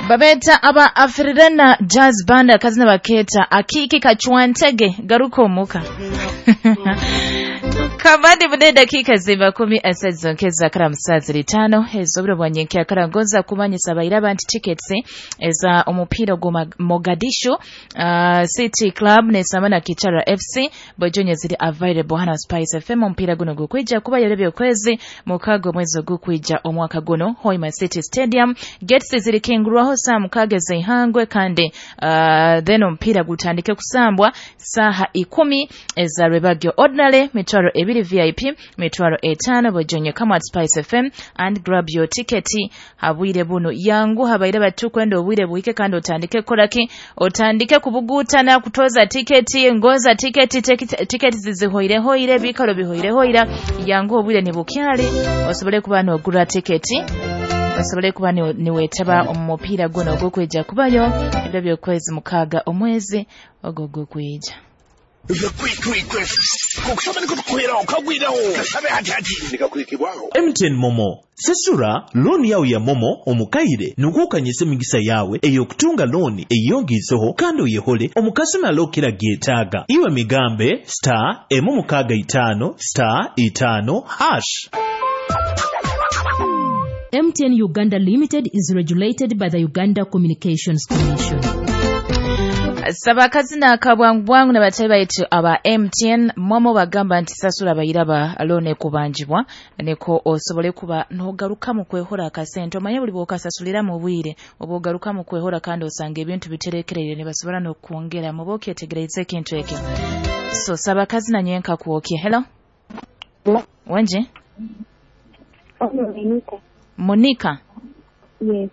Babeta aba Afrirena Jazz Band, akazina baketa Akiki Kachwantege, garuka omuka. Kamandi bude dakika ziba 13 zonkeza kara musazi litano ezobiro bwanyenke akara ngoza kumanyisa abairaba nti tickets eza omupiira gwa Mogadishu City Club ne Samana Kichara FC bojonye ziri available hana Spice FM. Omupiira guno gukwija kuba yarebye okwezi mukago mwezi ogukwija omwaka guno Hoima City Stadium. Gates ziri kingurwaho saa 6 zeihangwe kandi then omupiira gutandike kusambwa saha 10 eza Rebagyo Ordinary, mitwaro 2 VIP, mitwaro 5 bojonye. Come at Spice FM and grab your ticket. Habwire buno yangu habaire batukwenda obwire buhike kandi otandike koraki, otandike kubugutana kutoza tiketi, ngoza tiketi, tiketi zizihoire hoire, bikaro bihoire hoira. Yangu obwire nibukyali osobole kuba nogura tiketi, osobole kuba niwetaba omupiira guno ogwokweja kubayo ebyo byokwezi 6 omwezi ogwo gwokweja. MTN Momo sesura looni yawe ya Momo omukaire nukukanyisa emigisa yawe ey'okutunga looni eyongiizeho kandi oyehole omukasumi alokera gyetaaga. Iwe migambe star 6 5 star 5 hash. MTN Uganda Limited is regulated by the Uganda Communications Commission. Saba akazina akabwangu bwangu nabatayi baitu aba MTN Momo bagamba nti sasula bayiraba looni kubanjibwa niko osobole kuba nogaruka mu kwehora akasente. Omanye buli bwokasasulira mu bwire oba ogaruka mu kwehora kandi osanga ebintu biterekerere ne basobola n'okwongera mu bokyetegereza ekintu ekyo. So saba akazina nyenka kwokye. Hello. Wenje? Monica. Monica. Yes.